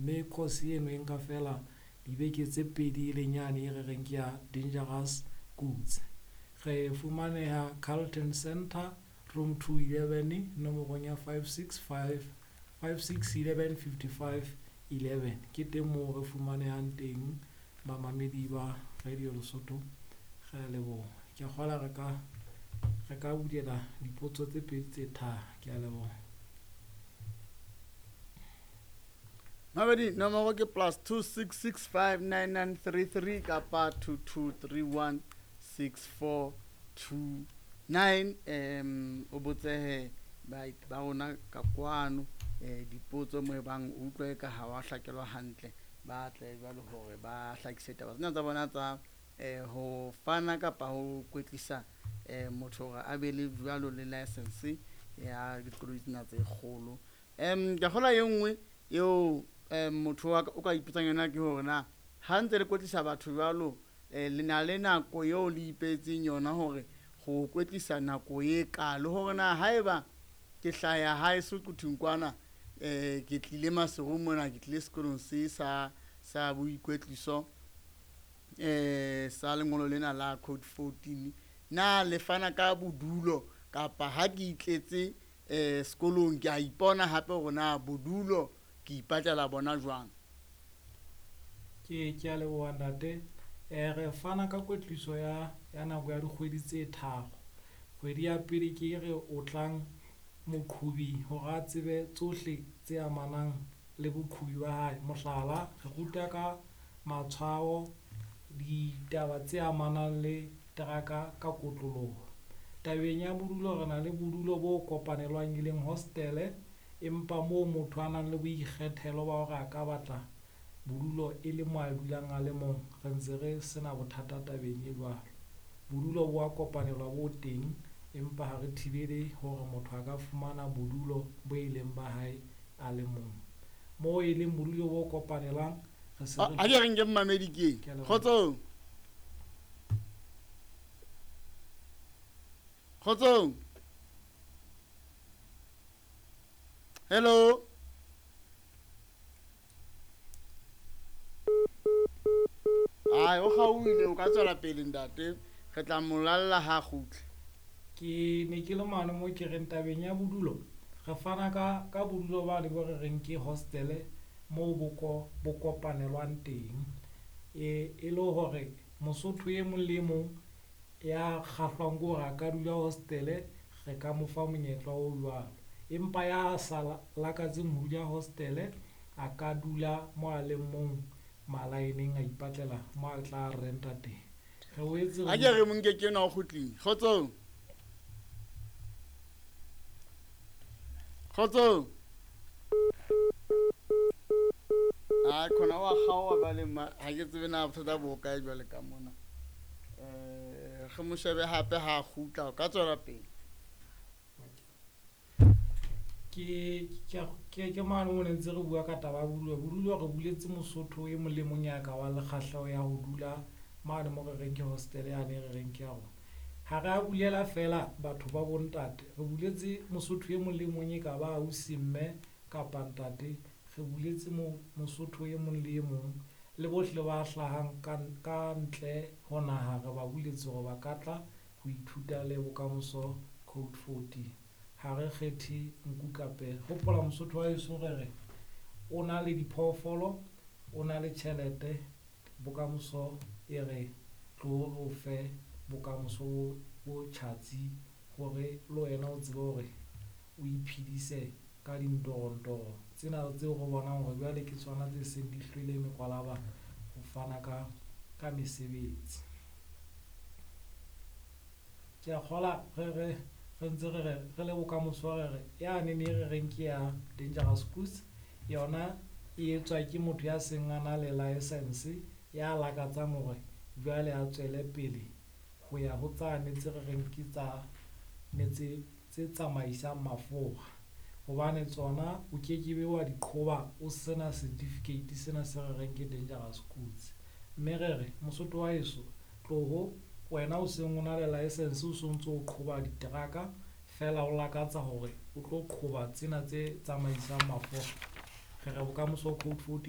Mme course eno e nka feela dibeke tse pedi e leng yane e re reng ke ya Dangerous Goods. Re fumaneha Carlton Center, room 211, nomorong ya 565 56 11 55 11. Ke teng moo re fumanehang teng bamamedi ba Radio Lesotho. Re a leboha. Ke a kgolwa re ka bulela dipotso tse pedi tse tharo. Ke a leboha. Mabedi nomoro ke plus 26659933 kapa 22316429. O botsehe ba rona ka kwano dipotso mo e bang o utlwe ka ha wa hlakelwa hantle, ba tle jwalo hore ba hlakise taba tsena tsa bona tsa ho fana kapa ho kwetlisa motho hore a be le jwalo le license ya dikoloi tsena tse kgolo. Ke kgola e nngwe eo motho o ka ipotsang yona ke hore na ha ntse le kwetlisa batho jwalo, le na le nako eo le ipehetseng yona hore go kwetlisa nako e kalo, hore na haeba ke hlaya hae Soquthing kwana, ke tlile Maseru mona, ke tlile sekolong se sa boikwetliso sa lengolo lena la code 14, na le fana ka bodulo kapa ha ke itletse sekolong ke a ipona hape hore na bodulo ke ipatlela bona jwang? Ke a leboha ntate. Re fana ka kwetliso ya nako ya dikgwedi tse tharo. Kgwedi ya pele ke re o tlang moqhobi hore a tsebe tsohle tse amanang le boqhobi ba hae. Mohlala, re ruta ka matshwao, ditaba tse amanang le teraka ka kotloloho. Tabeng ya bodulo, re na le bodulo bo kopanelwang e leng hostele, empa moo motho a nang le boikgethelo ba hore a ka batla bodulo e le mo a dulang a le mong, re ntse re sena bothata tabeng e jwalo. Bodulo bo a kopanelwa bo teng, empa ha re thibele hore motho a ka fumana bodulo bo e leng ba hae a le mong. Moo e leng bodulo bo kopanelang, re se re A ke re nke mmamedi ke. Ke a leboha. Kgotsong. Kgotsong. Hello. Ai, o kgaohile, o ka tswela pele ntate, re tla mo lalla ha kgutle. Ke ne ke le mane mo ke reng tabeng ya bodulo, re fana ka bodulo bane bo re reng ke hostele moo bo kopanelwang teng. E le hore Mosotho e mong le e mong ya kgahlwang ke hore a ka dula hostele, re ka mo fa monyetla o jwalo. Empa ya sa lakatseng ho dula hostele, a ka dula mo a leng mong malaeneng, a ipatlela mo a tla renta teng. Re boetse A ke re mo nke ke enwa o kgutlile. Kgotsong. Kgotsong. Ai, khona wa kgaoha jwale ma, ha ke tsebe na bothata bo kae jwale ka mona. Re mo shebe hape ha kgutla, o ka tswela pele. Ke mane mo ne ntse re bua ka taba ya bodulo. Bodulo re buletse Mosotho e mong le mong ya ka bang le kgahleho ya ho dula mane mo re reng ke hostel yane re reng ke ya rona. Ha re a bulela feela batho ba bontate, re buletse Mosotho e mong le mong e ka ba ausi, mme kapa ntate. Re buletse Mosotho e mong le e mong le bohle ba hlahang ka ntle ho naha, re ba buletse hore ba ka tla ho ithuta le bokamoso code 14. Ha re kgethe nku kape. Hopola Mosotho wa heso re re o na le diphoofolo, o na le tjhelete, bokamoso e re tlo re o fe bokamoso bo tjhatsi hore le wena o tsebe hore o iphedise ka dintorontoro tsena tseo re bonang hore jwale ke tsona tse seng di hlwele mekwalaba ho fana ka mesebetsi. Ke a kgola re ntse re re re le bokamoso re re yane ne re reng ke ya Dangerous Goods, yona e etswa ke motho ya seng a na le license ya lakatsang hore jwale a tswele pele ho ya ho tsane tse re reng ke tsa ne tse tsamaisang mafura, hobane tsona o kekebe wa di qhoba o sena certificate sena se re reng ke Dangerous Goods. Mme re re Mosotho wa heso, tloho wena o seng o na le license, o sontso o qhoba diteraka feela o lakatsa hore o tlo qhoba tsena tse tsamaisang mafura, re re bokamoso code 14.